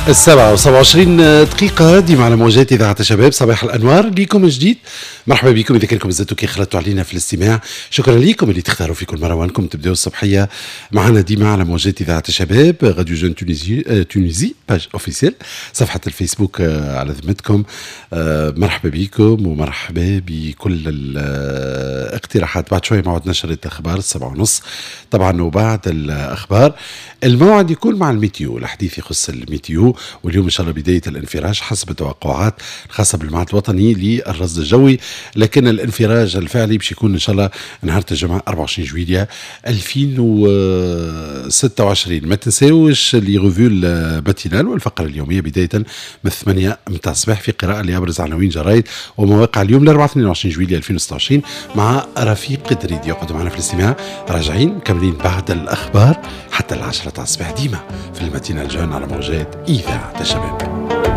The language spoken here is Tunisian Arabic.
7:27 ديما على موجات إذاعة الشباب. صباح الأنوار ليكم جديد، مرحبا بكم إذا كنكم زدتوا كي خلطتوا علينا في الاستماع. شكرا لكم اللي تختاروا في كل مرة وانكم تبداو الصبحية معنا ديما على موجات إذاعة الشباب، radio jeune Tunisie، Tunisie page officielle، صفحة الفيسبوك على ذمتكم. مرحبا بكم ومرحبا بكل الاقتراحات. بعد شوي موعد نشرة الأخبار 7:30 طبعا، وبعد الأخبار الموعد يكون مع ال météo، الحديث يخص ال météo. واليوم ان شاء الله بداية الانفراج حسب التوقعات الخاصة بالمعهد الوطني للرصد الجوي، لكن الانفراج الفعلي باش يكون ان شاء الله نهار الجمعة 24 جويليا 2026. ما تنساوش les revues matinales والفقرة اليومية بداية من 8 متاع الصباح في قراءة لابرز عناوين جرايد ومواقع اليوم الاربعاء 22 جويليا 2026 مع رفيق دريدي. يقعدوا معنا في الاستماع، راجعين مكملين بعد الاخبار حتى 10 تاع الصباح ديما في ال matinale jeune على موجات اذاعة الشباب.